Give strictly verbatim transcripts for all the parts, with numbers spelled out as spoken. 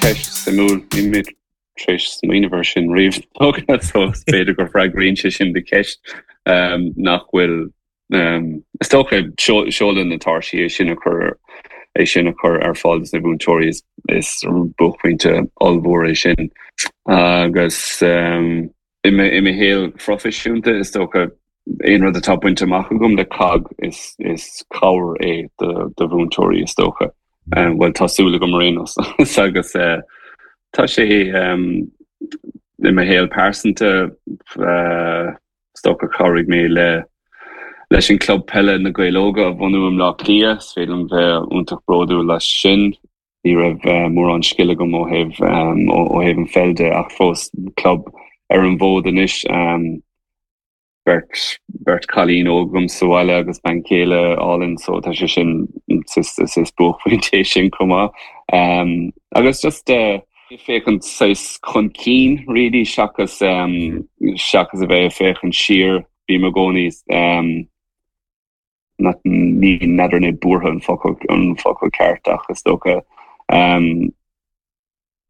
Ceist suimiúil níl mé tar éis smaoineamh air sin riamh so b'fhéidir go bhfreagraíonn sé sin do cheist um, nach bhfuil um, is dócha seoladh na tairsí é sin a chur é sin a chur ar fáil na múinteoirí is, is buaicphointe ollmhór é sin agus um, i i mo shaol proifisiúnta is dócha aon rud atá bainte amach agam le COGG is is cabhair é do do mhúinteoirí is dócha. Um, well tá súil agam rénos agus uh, tá sé um, i mo shaol pearsanta uh, is dócha chabhraigh mé le leis an club peile na Gaeil Óga a bhunú i mBleá Cliath, is féidir liom bheith iontach bródúil leis sin. Ní raibh uh, mórán scil agam ó thaobh um, ó thaobh an pheil de ach fós club ar an bhfód anois um, beirt beirt cailín óg agam sa bhaile agus bean chéile álainn so tá sé sin is buaicphointe sin chomh maith. Um, agus just uh, féachaint chun cinn really seachas um, seachas a bheith féachaint siar bím i gcónaí um, ní n'fheadar an é buartha an focal an focal ceart ach is dócha um,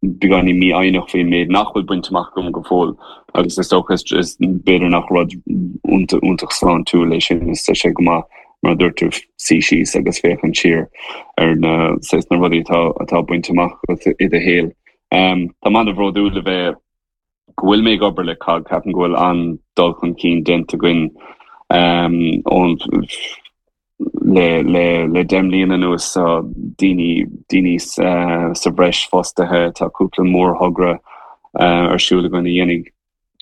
beagáinín mífhoighneach faoin méid nach bhfuil bainte amach agam go fóill agus is dócha is b'fhéidir nach rud iontach sláintiúil é sin is sé go maith mar dúirt tú suí síos agus féachaint siar ar na na rudaí atá atá bainte amach i do shaol. Um, tá mé an-bhródúil le bheith go bhfuil mé ag obair le COGG ceapaim go bhfuil an-dul chun cinn déanta againn um, ón le le le deich mbliana anuas daoine daoine uh, sa bhreis fostaithe tá cúpla mórthogra uh, ar siúl againn a dhéanfaidh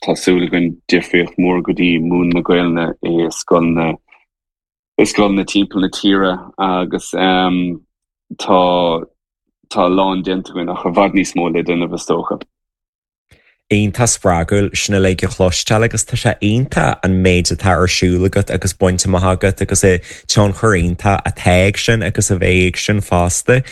tá súil againn difríocht mór go dtí múineadh na Gaeilge i scoileanna i scoileanna timpeall na tíre agus um, tá tá lán déanta againn ach i bhfad níos mó le déanamh is dócha. Iontach spreagúil sin uilig a chloisteáil agus tá sé iontach an méid atá ar siúl agat agus bainte amach agat agus an tionchar iontach atá ag sin agus a bheidh ag sin fosta.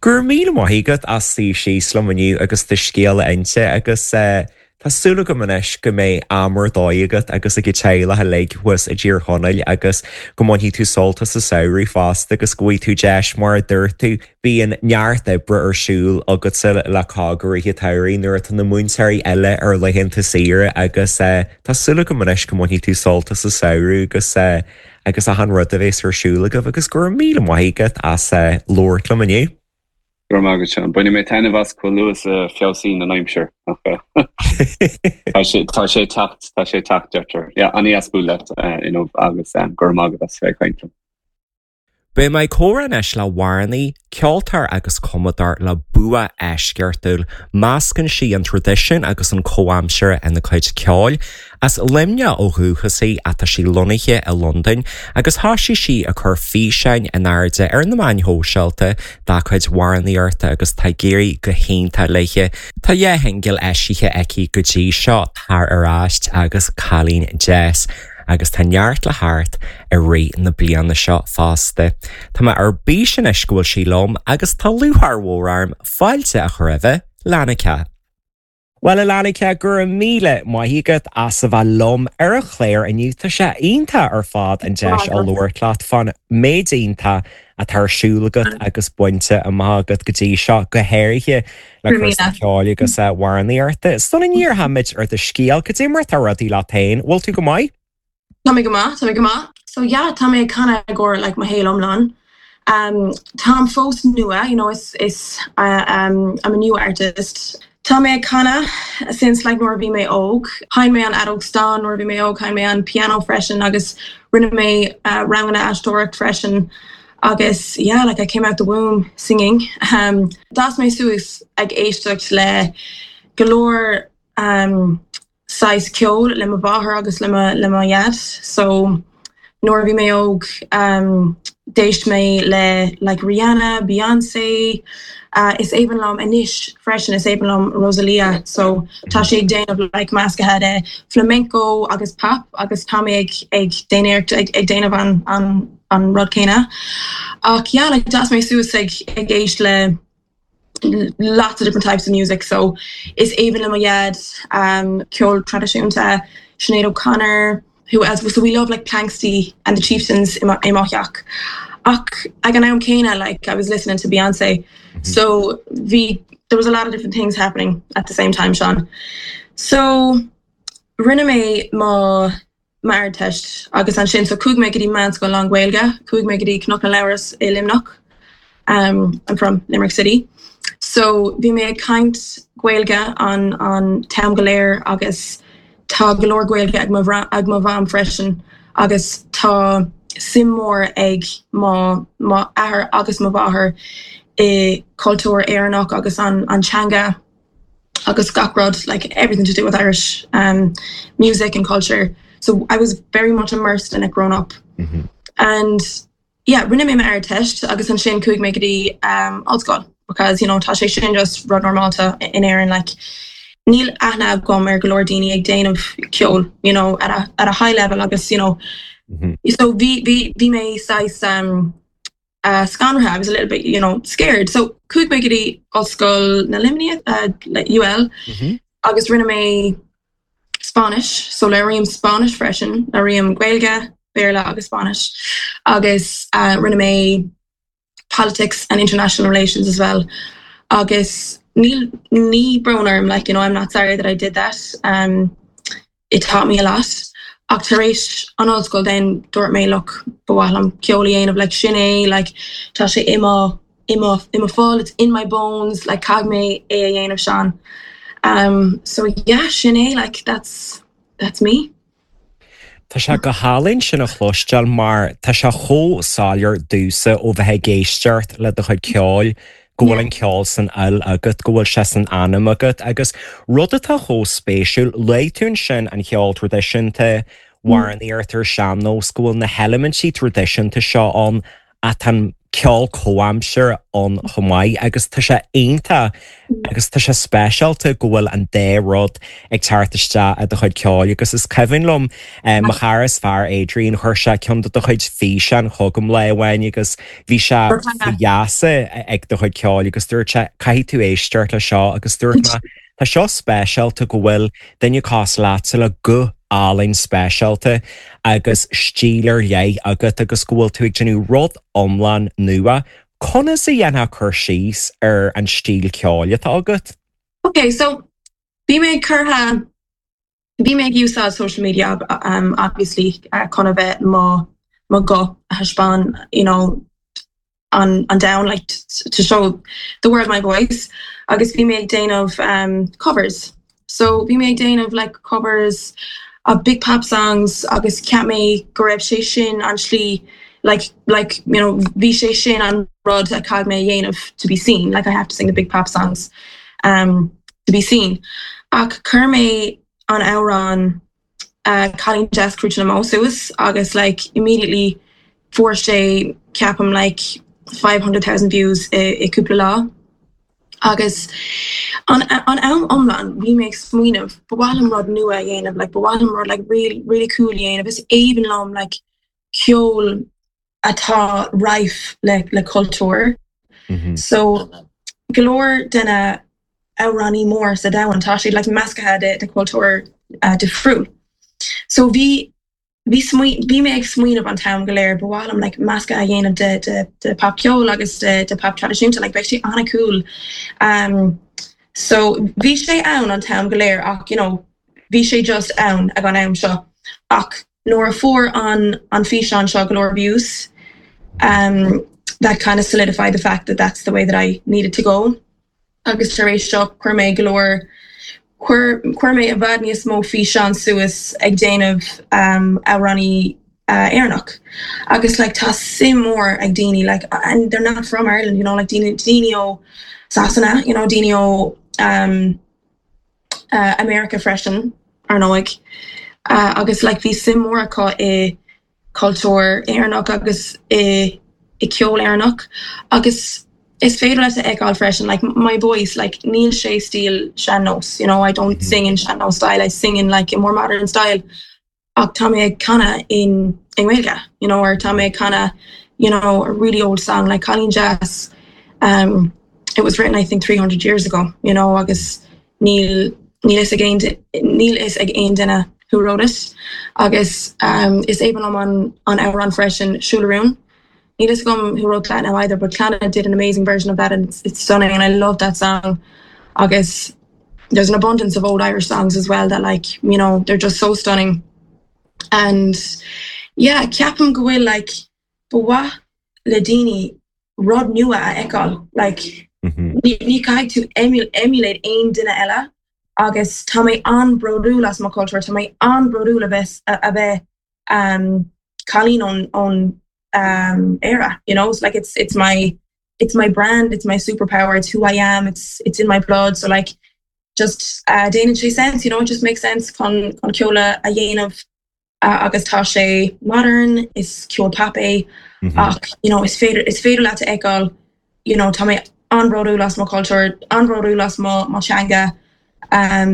Go raibh míle maith agat as suí síos liom inniu agus do scéal a inse agus uh, Tá súil agam anois go mbeidh am ar dóigh agat agus ag teaghlach uilig thuas i dTír Chonaill agus go mbainfidh tú sult as an samhradh fosta agus go bhfaighidh tú deis mar a dúirt tú bíonn neart oibre ar siúl agatsa le COGG i rith an tsamhraidh nuair atá na múinteoirí eile ar laethanta saoire agus uh, tá súil agam anois go mbainfidh tú sult as an samhradh agus uh, agus achan rud a bheas ar siúl agaibh agus go raibh míle maith agat as uh, labhairt liom inniu. Gur agad sem Bainfidh mé taitneamh as chomh luath is a fheabhsaíonn an aimsir Tá sé teacht tá sé teacht deirtear. Ja an-deas bualadh inniu agus gur agad as bheith caint. Beidh mé ag comhrá anois le hamhránaí, ceoltóir agus cumadóir le bua eisceachtúil, meascann sí an traidisiún agus an comhaimseartha ina cuid ceoil, as Luimneach ó dhúchas í ach tá sí lonnaithe i Londain agus thosaigh sí ag cur físeáin in airde ar na meáin shóisialta dá cuid amhránaíochta agus tá ag éirí go hiontach léi. Tá dhá shingil eisithe aici go dtí seo tar ar ais agus Cailín Deas. agus tá neart le theacht i rith na bliana seo fosta. Tá mé ar bís anois go bhfuil sí liom agus tá lúcháir mhór orm fáilte a chur roimh Lanika. Well a Lanika go raibh míle maith agat as a bheith liom ar an chlár inniu tá sé iontach ar fad an deis a labhairt leat fán méid iontach atá ar siúl agat agus bainte amach agat go dtí seo go háirithe le cúrsaí ceoil agus amhránaíochta. Sula ndíreoimid ar do scéal cad é mar atá rudaí leat féin, bhfuil tú go maith? Tá mé go maith, tá mé go maith. So yeah, tá mé ag canadh i gcomhair like mo shaol iomlán. Um, Táim fós nua, you know, is is uh, um, I'm a new artist. Tá mé ag canadh since like nuair a bhí mé óg. Sheinn mé an fheadóg stáin nuair a bhí mé óg, sheinn mé an piano freisin agus rinne mé uh, ranganna aisteoireacht freisin. Agus yeah, like I came out the womb singing. Um, D'fhás mé suas ag éisteacht le go leor um, saghas ceol le mo mháthair agus le mo le mo dhaid. So nuair a bhí mé óg um, d'éist mé le like Rihanna, Beyonce, uh, is aoibhinn liom anois freisin is aoibhinn liom Rosalia, so tá sé ag déanamh like measctha de flamenco agus pop agus tá mé ag ag déanamh ag, ag déanamh an, an, an rud céanna. Ach yeah, like d'fhás mé suas ag ag éist le lots of different types of music so is aoibhinn le mo dhaid um, ceol traidisiúnta Sinead O'Connor who else so we love like Planxty and the Chieftains i mo theach Ach ag an am céanna like I was listening to Beyonce. Mm -hmm. So bhí there was a lot of different things happening at the same time, Sean. So rinne mé mo m'Ardteist agus ansin so chuaigh mé go dtí meánscoil lán-Ghaeilge, chuaigh mé go dtí Cnoc na Labhras i Luimneach. Um, I'm from Limerick City. So bhí mé ag caint Gaeilge an an t-am go léir agus tá go leor Gaeilge ag ag mo mham freisin agus tá suim mór ag mo m'athair agus mo mháthair i cultúr Éireannach agus an an teanga agus gach rud like everything to do with Irish um, music and culture. So I was very much immersed in it growing up. Mm -hmm. And yeah, rinne mé m'Ardteist agus ansin chuaigh mé go dtí um, ollscoil because you know tá sé sin just rud normálta in Éirinn like níl aithne agam ar go leor daoine ag déanamh ceol you know at a at a high level agus you know mm -hmm. so bhí bhí bhí mé saghas um uh, scanraithe I was a little bit you know scared so chuaigh mé go dtí Ollscoil na Luimní uh, like UL mm -hmm. agus rinne mé Spanish so labhraím Spanish freisin labhraím Gaeilge Béarla agus Spanish agus uh, rinne mé politics and international relations as well agus níl ní brón orm like you know I'm not sorry that I did that um it taught me a lot ach tar éis an ollscoil then dúirt mé look ba mhaith liom ceol a dhéanamh like sin é like tá sé i mo i mo i mo fhuil it's in my bones like caithfidh mé é a dhéanamh Sean um so yeah sin é like that's that's me Tá sé go hálainn sin a chloisteáil mar tá sé chomh soiléir domhsa ó bheith ag éisteacht le do chuid ceoil go bhfuil an ceol san fhuil agat go bhfuil sé san anam agat agus rud atá chomh spéisiúil luaigh tú ansin an ceol traidisiúnta amhránaíocht ar sean-nós go bhfuil na heilimintí traidisiúnta seo ann ach an ceol comhaimseartha ann chomh maith agus tá sé iontach agus tá sé speisialta go bhfuil an dá rud ag teacht isteach i do chuid ceoil agus is cuimhin liom eh, mo chara is fearr Adrian chuir sé ceann de do chuid físeán chugam lá amháin agus bhí sé faoi gheasa ag do chuid ceoil agus dúirt sé caithfidh tú éisteacht le seo agus dúirt mé Tá seo speisialta go bhfuil duine cosúil leatsa le guth álainn speisialta agus stíl ar leith agat agus go bhfuil tú ag déanamh rud iomlán nua. Conas a dhéanfá cur síos ar an stíl ceoil atá agat? Okay, so bhí mé curtha bhí mé ag úsáid social media um, obviously uh, chun a bheith mo mo guth a thaispeáin you know an an down like to show the world my voice agus bhí mé ag déanamh um, covers. So bhí mé ag déanamh like covers of big pop songs agus cheap mé go raibh sé sin an slí like like you know bhí sé sin an rud a caithfidh mé dhéanamh to be seen like I have to sing the big pop songs um, to be seen. Ach chuir mé an amhrán uh, Cailín Deas Crúite na mBó suas agus like immediately fuair sé ceapaim like five hundred thousand views i, i cúpla lá. Agus an an am iomlán bhí mé ag smaoineamh ba mhaith liom rud nua a dhéanamh like ba mhaith liom rud like really really cool a dhéanamh is aoibhinn liom like ceol atá rife le le cultúr. Mm -hmm. So go leor de na amhránaí mór sa domhan tá siad like measctha de de cultúr uh, difriúil. So bhí bhí bhí mé ag smaoineamh an t-am go léir ba mhaith liom like meascadh a dhéanamh de de de popcheol agus de de pop traidisiúnta like beidh sé an-cool. Um, so bhí sé ann an t-am go léir ach you know, bhí sé just ann ag an am seo. Ach nuair a fuair an an físeán seo go leor views, um, that kind of solidified the fact that that's the way that I needed to go. Agus tar éis seo chuir mé go leor chuir chuir mé i bhfad níos mó físeán suas ag déanamh um, amhránaí uh, Éireannach. Agus like tá suim mór ag daoine like and they're not from Ireland, you know, like daoine daoine ó Sasana, you know, daoine ó um, uh, America freisin ar ndóigh. Uh, agus like bhí suim mór acu i cultúr Éireannach agus i i ceol Éireannach agus is féidir leat a fheiceáil freisin like my voice like níl sé stíl sean-nós you know I don't mm -hmm. sing in sean-nós style I sing in like a more modern style ach tá mé ag canadh in in Gaeilge you know or tá mé ag canadh you know a really old song like Cailín Deas um it was written I think three hundred years ago you know agus níl níl fhios ag aon níl fhios ag aon duine who wrote it agus um, is aoibhinn liom an an amhrán freisin Siúil a Rún Níl a fhios agam who wrote that now either, but Clannad did an amazing version of that and it's, it's stunning and I love that song. Agus there's an abundance of old Irish songs as well that like, you know, they're just so stunning. And yeah, ceapaim go bhfuil like ba mhaith le daoine rud nua a fheiceáil like Mhm. ní ní caithfidh tú emul emulate aon duine eile agus tá mé an-bhródúil as mo cultúr tá mé an-bhródúil a bheith a a bheith um, cailín ón ón um, Éire you know it's like it's it's my it's my brand it's my superpower it's who I am it's it's in my blood so like just uh, déanann sé sense you know it just makes sense chun chun ceol a dhéanamh uh, agus tá sé modern is ceol pop é Mhm. ach you know is féidir is féidir leat a fheiceáil you know tá mé an-bhródúil as mo cultúr an-bhródúil as mo mo teanga um,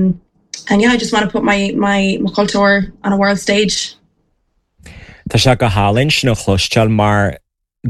and yeah I just want to put my my my culture on a world stage Tá sé go hálainn sin a chloisteáil mar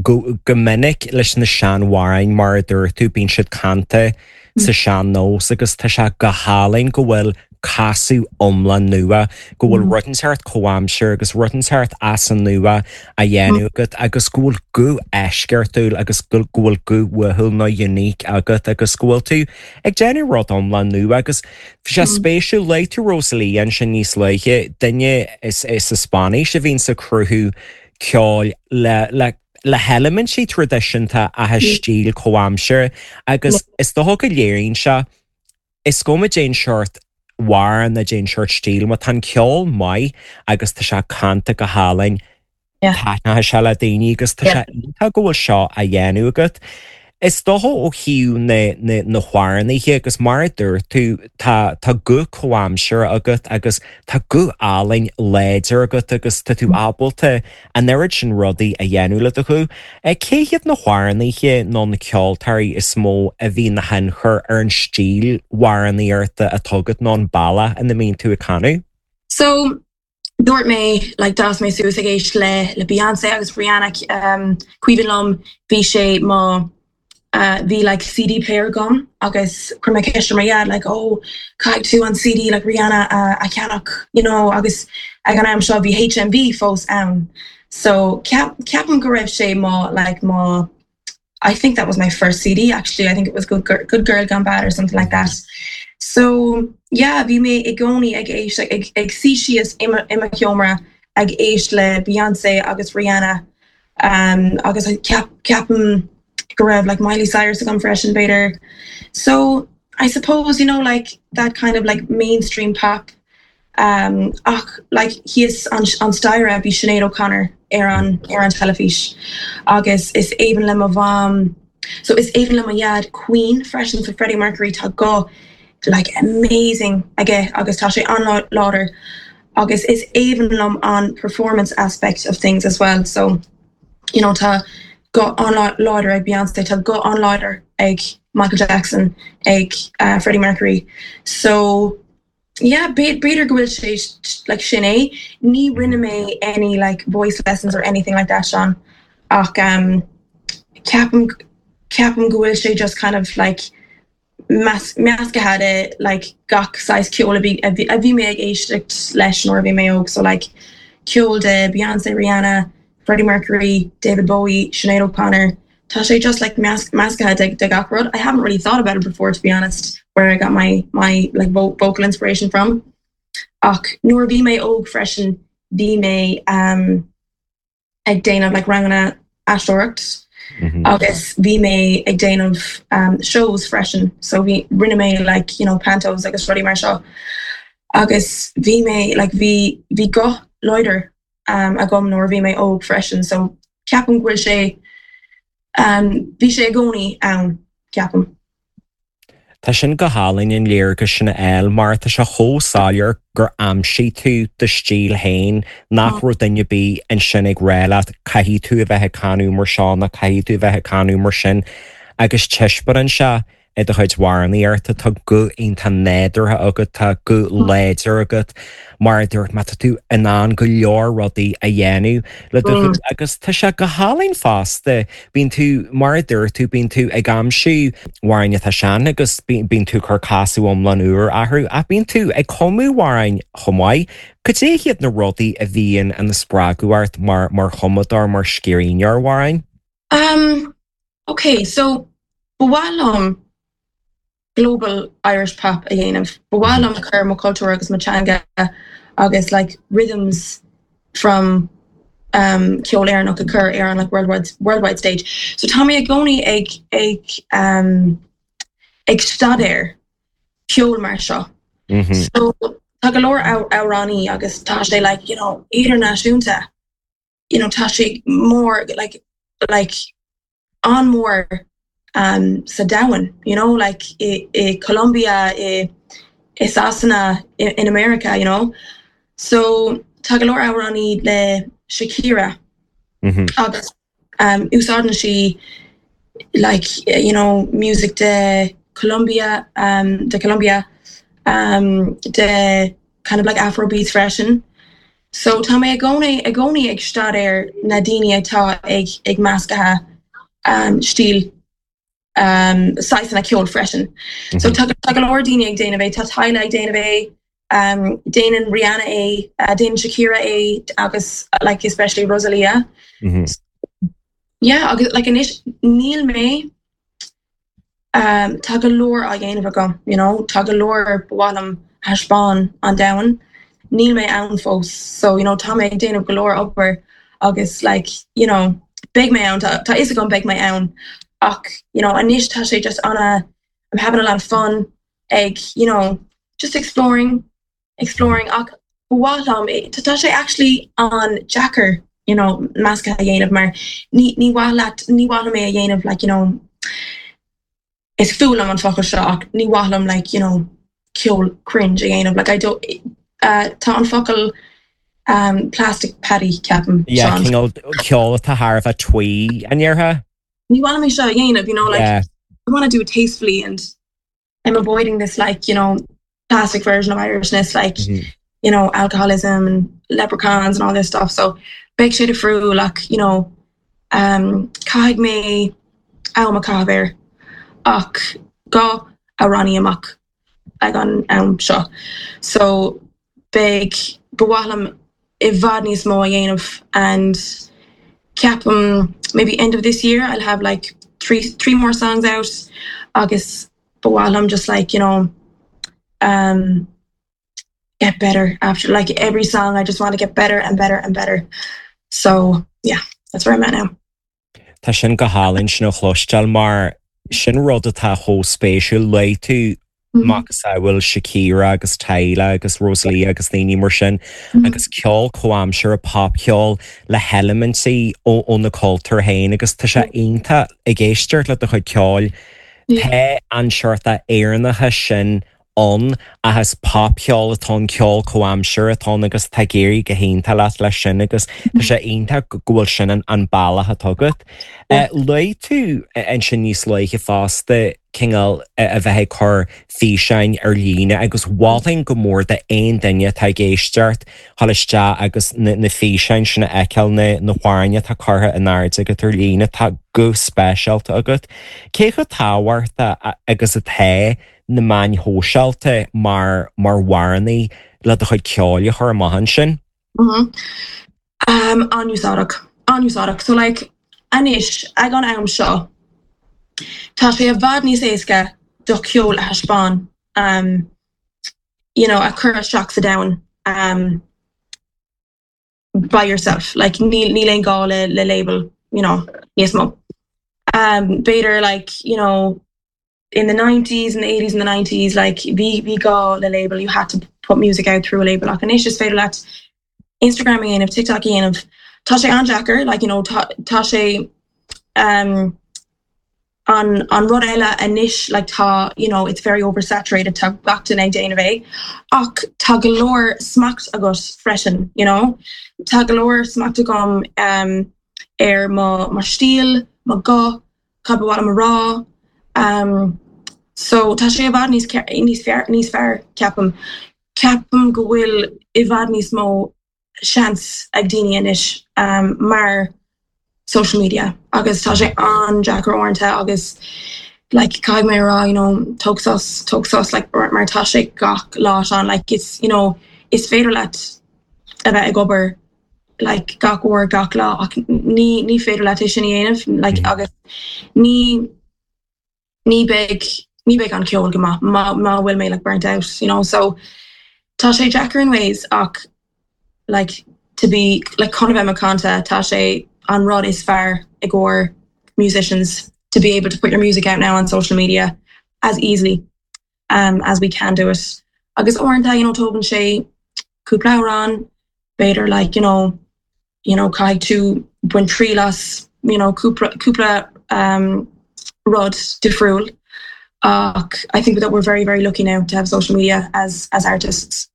go, go minic leis na seanamhráin mar a dúirt tú bíonn siad canta sa sean-nós agus tá sé go hálainn go bhfuil casadh iomlán nua, go bhfuil rud inteacht comhaimseartha agus rud inteacht as an nua á dhéanamh agat agus go bhfuil guth eisceachtúil agus go go bhfuil guth uathúil nó unique agat agus go bhfuil tú ag déanamh rud iomlán nua agus bhí sé spéisiúil luaigh tú Rosalía ansin níos luaithe duine is is sa Spáinnis a bhíonn ag cruthú ceoil le le le heilimintí traidisiúnta a stíl comhaimseartha agus is dócha go léiríonn sé is cuma cén sórt amhrán nó cén sórt stíl má tá an ceol maith agus tá sé canta go hálainn Yeah. taitneoidh sé le daoine agus tá sé iontach go bhfuil seo á dhéanamh agat. Is dócha ó thaobh na na na hamhránaithe agus mar a dúirt tú tá tá guth comhaimseartha agat agus tá guth álainn láidir agat agus tá tú ábalta an oiread sin rudaí a dhéanamh le do ghuth. Cé hiad na hamhránaithe nó na ceoltóirí is mó a bhí ina thionchar ar an stíl amhránaíochta atá agat nó an bealach ina mbíonn tú ag canadh? So dúirt mé like d'fhás mé suas ag éisteacht le le Beyonce agus Rihanna um, cuimhin liom bhí sé má uh, bhí like CD player agam agus chuir mé ceist ar mo dhaid like oh caithfidh tú an CD like Rihanna uh, a cheannach you know agus ag an am seo bhí HMV fós ann so ceap ceapaim go raibh sé má like má I think that was my first CD actually I think it was Good Girl, Good Girl Gone Bad or something like that so yeah bhí mé i gcónaí ag éist ag ag suí síos i mo i mo sheomra ag éisteacht le Beyonce agus Rihanna um, agus ceap ceapaim go raibh like Miley Cyrus agam freisin b'fhéidir so I suppose you know like that kind of like mainstream pop um, ach like thíos an, an staighre bhí Sinéad O'Connor ar an ar an teilifís agus is aoibhinn le mo mham so is aoibhinn le mo dhaid Queen freisin so Freddie Mercury tá guth like amazing aige agus tá sé an-láidir agus is aoibhinn liom an performance aspect of things as well so you know tá guth an-láidir ag Beyonce tá guth an-láidir ag Michael Jackson ag uh, Freddie Mercury so yeah b'fhéidir go bhfuil sé like sin é ní rinne mé any like voice lessons or anything like that Sean ach um ceapaim ceapaim go bhfuil sé just kind of like measctha de like gach saghas ceol a bhí a bhí a bhí mé ag éisteacht leis nuair a bhí mé óg so like ceol de Beyonce Rihanna Freddie Mercury David Bowie Sinead O'Connor Tá sé just like meas measctha de, de gach rud I haven't really thought about it before to be honest where I got my my like vo vocal inspiration from ach nuair bhí mé óg freisin bhí mé um, ag déanamh like ranganna aisteoireacht Mm -hmm. agus bhí mé ag déanamh um, shows freisin so bhí rinne mé like you know pantos agus rudaí mar seo agus bhí mé like bhí bhí guth láidir um, agam nuair bhí mé óg freisin so ceapaim go bhfuil sé um, bhí sé i gcónaí ann ceapaim. Tá sin go hálainn an léargas sin a fháil mar tá sé chomh soiléir gur aimsigh tú do stíl féin nach raibh duine ar bith ansin ag rá leat caithfidh tú a bheith ag canadh mar seo ná caithfidh tú a bheith ag canadh mar sin agus taispeánann sé i do chuid amhránaíochta tá guth iontach nádúrtha agat tá guth láidir agat mar dúirt mé tá tú in ann go leor rudaí a dhéanamh le do ghuth agus tá sé go hálainn fosta bíonn tú mar a dúirt tú bíonn tú ag aimsiú amhráin atá sean agus bíonn tú ag cur casadh iomlán úr orthu ach bíonn tú ag cumadh amhráin chomh maith. Cad é hiad na rudaí a bhíonn ina spreagadh ort mar mar chumadóir mar scríbhneoir amhráin? Um, okay, so ba mhaith liom global Irish pop a dhéanamh. Ba mhaith liom cur mo cultúr agus mo teanga agus like rhythms from um, ceol Éireannach a chur ar an like worldwide worldwide stage. So tá mé i gcónaí ag ag um, ag staidéar ceol mar seo. Mm -hmm. So tá go leor amhránaí agus tá sé like you know idirnáisiúnta you know tá sé mór like like an-mhór um, sa domhan you know like i, i Colombia i, i Sasana i, in America you know so tá go leor amhránaí le Shakira mm -hmm. agus um, úsáideann sí like you know music de Colombia um, de Colombia um, de kind of like Afrobeats freisin. So tá mé i gcónaí i gcónaí ag staidéar na daoine atá ag ag meascadh um, stíl um, saghsanna ceol freisin. Mm -hmm. So tá tá go leor daoine ag déanamh é tá Tyla ag déanamh é um, déanann Rihanna é uh, déanann Shakira é agus like especially Rosalia. Mm -hmm. so, yeah agus like anois níl mé um, tá go leor á dhéanamh agam you know tá go leor ba mhaith liom thaispeáin an domhan níl mé ann fós so you know tá mé ag déanamh go leor obair agus like you know beidh mé ann tá tá fhios agam beidh mé ann ach you know anois tá sé just an I'm having a lot of fun ag you know just exploring exploring ach ba mhaith liom tá sé actually an-deacair you know meascadh a dhéanamh mar ní ní mhaith leat ní mhaith liom é a dhéanamh like you know is fuath liom an focal seo ach ní mhaith liom like you know ceol cringe a dhéanamh like I don't uh, tá an focal um, plastic paddy ceapaim Yeah, cineál ceol atá thar a bheith twee an ndéarfá? Ní mhaith liom é seo a dhéanamh you know like Yeah. I want to do it tastefully and I'm avoiding this like you know plastic version of Irishness like Mm -hmm. you know alcoholism and leprechauns and all this stuff so beidh sé difriúil like you know um, caithfidh mé am a chaitheamh air ach dhá amhránaí amach ag an am seo so beidh ba mhaith liom i bhfad níos mó a dhéanamh and ceapaim maybe end of this year I'll have like three three more songs out agus ba mhaith liom just like you know um, get better after like every song I just want to get better and better and better so yeah that's where I'm at now. Tá sin go hálainn sin a chloisteáil mar sin rud atá chomh spéisiúil luaigh tú Mm -hmm. macasamhail Shakira agus Tyla agus Rosalia agus daoine mar sin Mm -hmm. agus ceol comhaimseartha popcheol le heilimintí ó ó na cultúir féin agus tá sé iontach ag éisteacht le do chuid ceoil Yeah. Tá an seort Éireannachas sin ann agus popcheol atá an ceol comhaimseartha atá agus tá ag éirí go hiontach leat leis sin agus tá sé iontach go bhfuil sin an, an bealach atá agat. Yeah. Luaigh tú ansin níos luaithe fosta cineál a bheith ag cur físeáin ar líne agus mholfainn go mór d'aon duine atá ag éisteacht dul isteach agus na, na físeáin sin a fheiceáil na, na hamhráin atá curtha in airde agat ar líne tá guth speisialta agat. Cé chomh tábhachtach agus atá na meáin shóisialta mar mar amhránaí le do chuid ceoil a chur amach ansin? Mm -hmm. um, an-úsáideach an-úsáideach so like anois ag an am seo tá sé i bhfad níos éasca do cheol a thaispeáin um, you know, a chur isteach sa domhan um, by yourself like níl níl aon gá le, le label you know níos mó um, b'fhéidir like you know in the nineties and the eighties and the nineties like bhí bhí gá le label you had to put music out through a label ach anois is féidir leat Instagram a dhéanamh TikTok a dhéanamh tá sé an-deacair like you know tá tá sé um, an an rud eile anois like tá you know it's very oversaturated tá gach duine ag déanamh é ach tá go leor smacht agat freisin you know tá go leor smacht agam um, ar mo mo stíl mo guth cad ba mhaith liom a rá um, so tá sé i bhfad níos níos fearr níos fearr ceapaim ceapaim go bhfuil i bhfad níos mó seans ag daoine anois um, mar social media agus tá sé an-deacair uaireanta agus like caithfidh mé rá you know tóg sos tóg sos like mar tá sé gach lá an like it's you know is féidir leat a bheith ag obair like gach uair gach lá ach ní ní féidir leat é sin a dhéanamh like mm -hmm. agus ní ní beidh ní beidh an ceol go maith má má bhfuil mé like burnt out you know so tá sé deacair in ways ach like to be like chun bheith macánta tá sé an rud is fearr i gcomhair musicians to be able to put your music out now on social media as easily um, as we can do it. Agus uaireanta you know tógann sé cúpla amhrán b'fhéidir like you know you know caithfidh tú baint triail as you know cúpla cúpla um, rud difriúil ach I think that we're very very lucky now to have social media as as artists.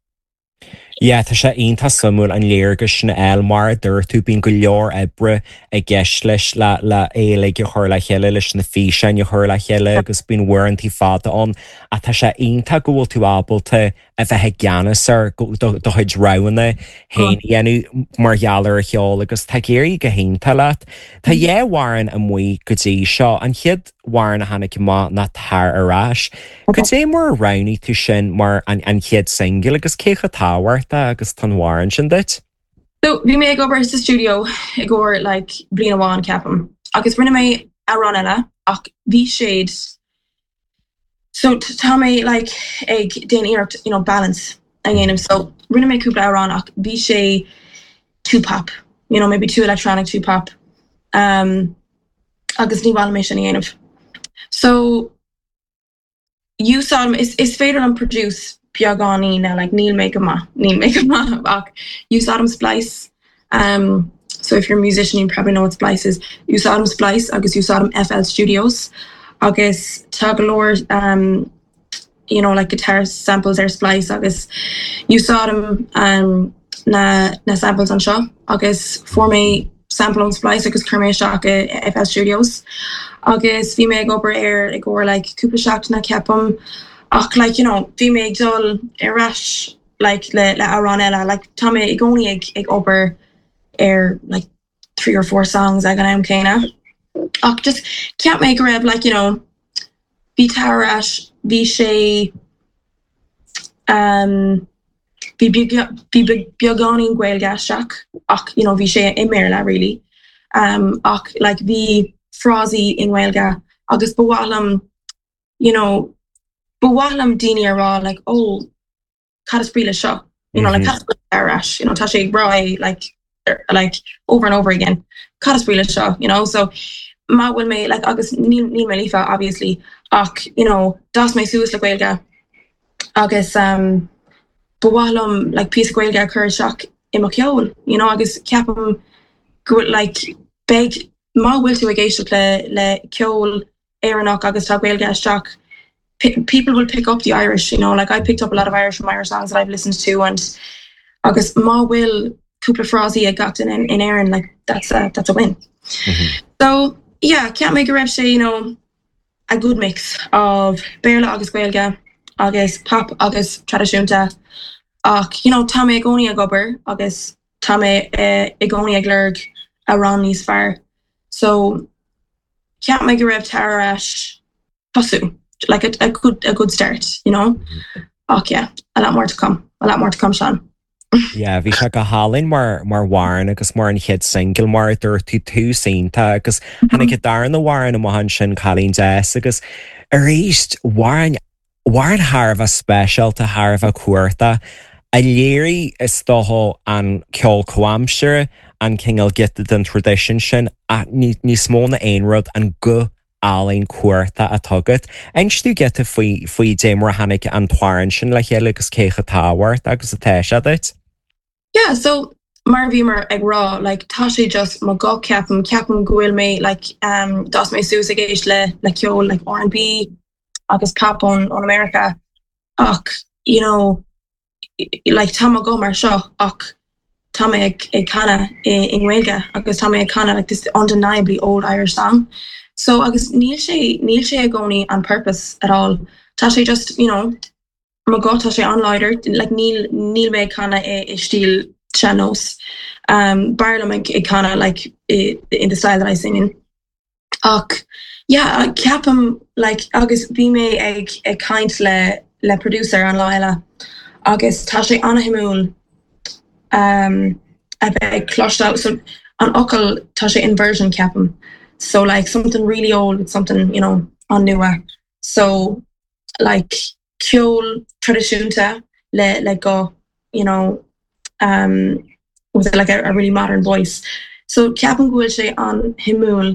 Yeah, tá sé iontach suimiúil an léargas sin eil mar dúirt tú bíonn go leor oibre i gceist leis le le éalaigh a chur le chéile leis na físeáin a chur le chéile agus bíonn uaireanta fada ann a tá sé iontach go bhfuil tú ábalta a bheith i gceannas ar do chuid roghanna féin dhéanamh mar gheall ar an cheol agus tá ag éirí go hiontach leat. Tá dhá amhrán amuigh go dtí seo an chéad amhrán a tháinig amach ná Tar Ar Ais. Cad é mar a roghnaigh tú sin mar an, an chéad single agus cé chomh tábhachtach agus tá an t-amhrán sin duit? So bhí mé ag obair sa studio i gcomhair like bliain amháin ceapaim agus rinne mé amhrán eile ach bhí siad so tá mé like ag déanamh iarracht you know balance a dhéanamh so rinne mé cúpla amhrán ach bhí sé too pop you know maybe too electronic too pop um, agus ní mhaith mé sin a dhéanamh so úsáidim is is féidir liom produce beagáinín now like níl mé go maith níl mé go maith ach úsáidim Splice um, so if you're a musician you probably know what Splice is úsáidim Splice agus úsáidim FL Studios agus tá go leor um, you know like guitar samples ar Splice agus úsáidim um, na na samples anseo agus fuair mé sample on Splice agus chuir mé isteach i FL Studios agus bhí mé ag obair ar i gcomhair like cúpla seachtain ceapaim ach like you know bhí mé ag dul ar ais like le le amhrán eile like tá mé i gcónaí ag ag obair ar like three or four songs ag an am céanna ach just cheap mé go raibh like you know bhí Tar Ar Ais bhí sé um, bhí bhí beagáinín Gaeilge isteach ach you know bhí sé i mBéarla really um, ach like bhí frásaí i nGaeilge agus ba mhaith liom you know ba mhaith liom daoine a rá like oh cad is brí le seo you know like mm -hmm. ar ais you know tá sé rá like er, like over and over again cad is brí le seo you know so má bhfuil mé like agus níl níl mé líofa obviously ach you know d'fhás mé suas le Gaeilge agus um ba mhaith liom like píosa Gaeilge a chur isteach i mo cheol you know agus ceapaim go like beidh má bhfuil tú ag éisteacht le le ceol Éireannach agus tá Gaeilge isteach people will pick up the Irish you know like I picked up a lot of Irish from Irish songs that I've listened to and agus má bhfuil cúpla frásaí ag gach duine in, in Éirinn like that's a that's a win. Mm -hmm. So yeah, cheap mé go raibh sé you know a good mix of Béarla agus Gaeilge agus pop agus traidisiúnta ach you know tá mé i gcónaí ag obair agus tá mé uh, i gcónaí ag lorg amhrán níos fearr. So cheap mé go raibh Tar Ar Ais tosú like a, a good a good start you know mm -hmm. ach yeah a lot more to come a lot more to come Sean. Yeah, bhí sé go hálainn mar mar amhrán agus mar an chéad single mar dúirt tú tús iontach agus tháinig an darna hamhrán amach ansin Cailín Deas agus arís amhrán amhrán thar a bheith speisialta thar a bheith cumhachtach a léirigh is dócha an ceol comhaimseartha an cineál giota den traidisiún sin a níos mó ná aon rud an guth álainn cumhachtach atá agat. Inis dúinn giota faoi faoi dé mar a tháinig an t-amhrán sin le chéile agus cé chomh tábhachtach agus atá sé duit? Yeah, so mar bhí mar ag rá like tá sé just mo guth ceapaim ceapaim go bhfuil mé like um, d'fhás mé suas ag éisteacht le le ceol like R and B agus pop ón ón America ach you know like tá mo ghuth mar seo ach tá mé ag ag canadh i i nGaeilge agus tá mé ag canadh like this undeniably old Irish song. So agus níl sé níl sé i gcónaí on purpose at all. Tá sé just you know mo guth tá sé an-láidir like níl níl mé ag canadh i, i stíl sean-nós. Um, b'fhearr liom ag ag canadh like i, in the style that I sing in. Ach yeah, ceapaim like agus bhí mé ag ag caint le le producer an lá eile agus tá sé an-shuimiúil um, a bheith ag cloisteáil so an fhocal tá sé inversion ceapaim so like something really old with something you know an nua so like ceol traidisiúnta le le go you know um with like a, a really modern voice so ceapaim go bhfuil sé an-shuimiúil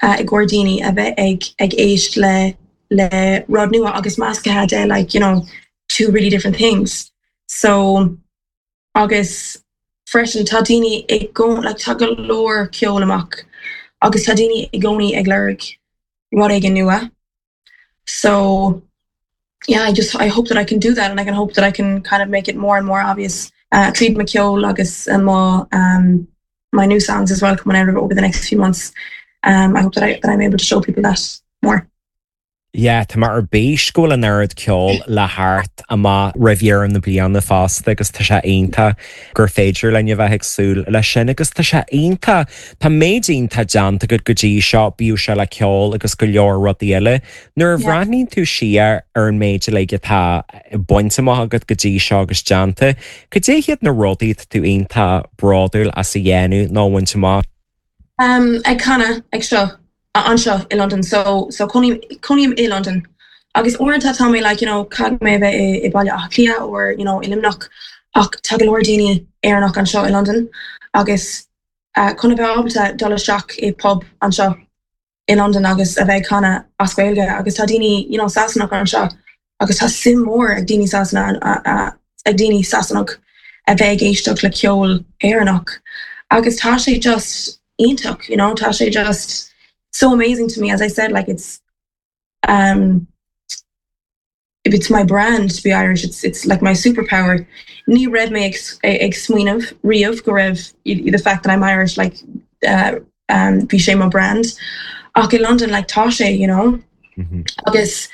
uh, i gcomhair daoine a bheith ag ag éist le le rud nua agus measctha de like you know two really different things so agus freisin tá daoine i go like tá go leor ceol amach agus tá daoine i gcónaí ag lorg rud éigin nua so yeah I just I hope that I can do that and I can hope that I can kind of make it more and more obvious uh tríd mo cheol agus uh, mo um my new songs as well coming out over the next few months um I hope that I that I'm able to show people that more. Yeah, Tá mar ar bís go bhfuil an oiread ceol le theacht amach roimh dheireadh na bliana fosta agus tá sé iontach gur féidir linn a bheith ag súil leis sin agus tá sé iontach Tá méid iontach déanta agat go dtí seo bíodh sé le ceol agus go leor rudaí eile. Nuair a bhreathnaíonn tú siar ar an méid le atá bainte amach agat go dtí seo agus déanta, cad é hiad na rudaí tú iontach bródúil as a dhéanamh nó bhaint amach. Um, ag canadh ag seo anseo i London so so cónaím i London agus uaireanta tá mé like you know caithfidh mé bheith i, i Baile Átha Cliath or you know i Luimneach ach tá go leor daoine Éireannach anseo i London agus uh, chun a bheith ábalta dul isteach i pub anseo i London agus a bheith canadh as Gaeilge agus tá daoine you know Sasanach anseo agus tá suim mór ag daoine Sasana ag daoine Sasanach a bheith ag éisteacht le ceol Éireannach agus tá sé just iontach you know tá sé just so amazing to me as I said like it's um if it's my brand to be Irish it's it's like my superpower ní raibh mé ag, ag smaoineamh riamh go raibh the fact that I'm Irish like uh, um bhí sé my brand ach in London like tá sé you know mm -hmm. agus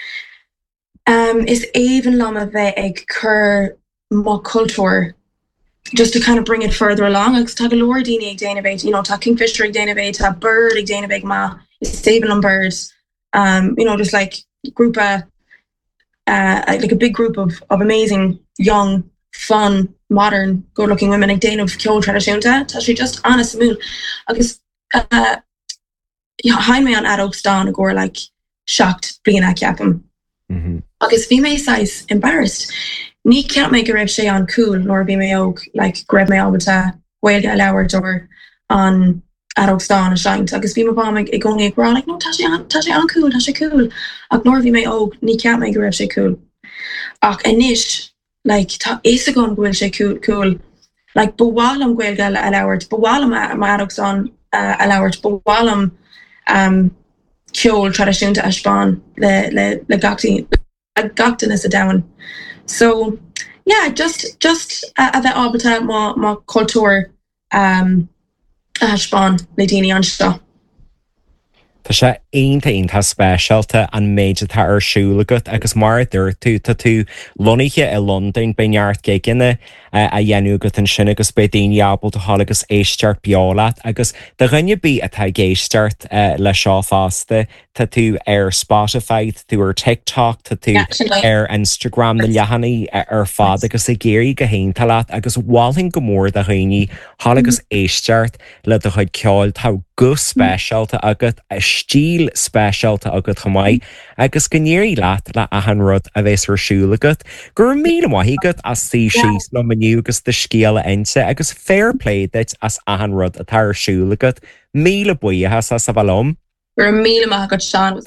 um is aoibhinn liom a bheith ag cur mo cultúr just to kind of bring it further along agus tá go leor daoine ag déanamh you know tá Kingfisher ag déanamh tá Bird ag déanamh ma is aoibhinn liom Bird um you know just like grúpa uh like a big group of of amazing young fun modern good looking women ag déanamh ceol traidisiúnta tá sé just an-suimiúil agus uh sheinn mé an fheadóg stáin i gcomhair like seacht bliana ceapaim mm -hmm. agus bhí mé saghas embarrassed ní cheap mé go raibh sé an cool nuair bhí mé óg like go raibh mé ábalta Gaeilge a labhairt or an fheadóg stáin a seinnt agus bhí mo mham i gcónaí ag rá like no tá sé an tá sé an cool tá sé cool ach nuair bhí mé óg ní cheap mé go raibh sé cool ach anois like tá fhios agam go bhfuil sé cool cool like ba mhaith liom Gaeilge a labhairt ba mhaith liom mo fheadóg stáin a labhairt ba mhaith liom um ceol traidisiúnta a spáin le le le gach le gach duine sa domhan so yeah just just a, a bheith ábalta mo mo cultúr um a thaispeáin le daoine anseo. Tá sé iontach iontach speisialta an méid atá ar siúl agat agus mar a dúirt tú tá tú lonnaithe i Londain beidh neart gigeanna á dhéanamh agat ansin agus beidh daoine ábalta teacht agus éisteacht beo leat agus do dhuine ar bith atá ag éisteacht le seo fosta tá tú ar Spotify, tá tú ar TikTok, tá tú ar Instagram na leathanaigh ar fad agus ag éirí go hiontach leat agus mholfainn go mór do dhaoine teacht agus éisteacht le do chuid ceoil tá guth speisialta agat a stíl speisialta agat chomh maith agus go n-éirí leat le achan rud a bheas ar siúl agat, Gur míle maith agat as suí síos liom inniu agus do scéal a inse agus fair play duit as achan rud atá ar siúl agat, míle buíochas as a bheith liom. Gur míle maith agat Seán.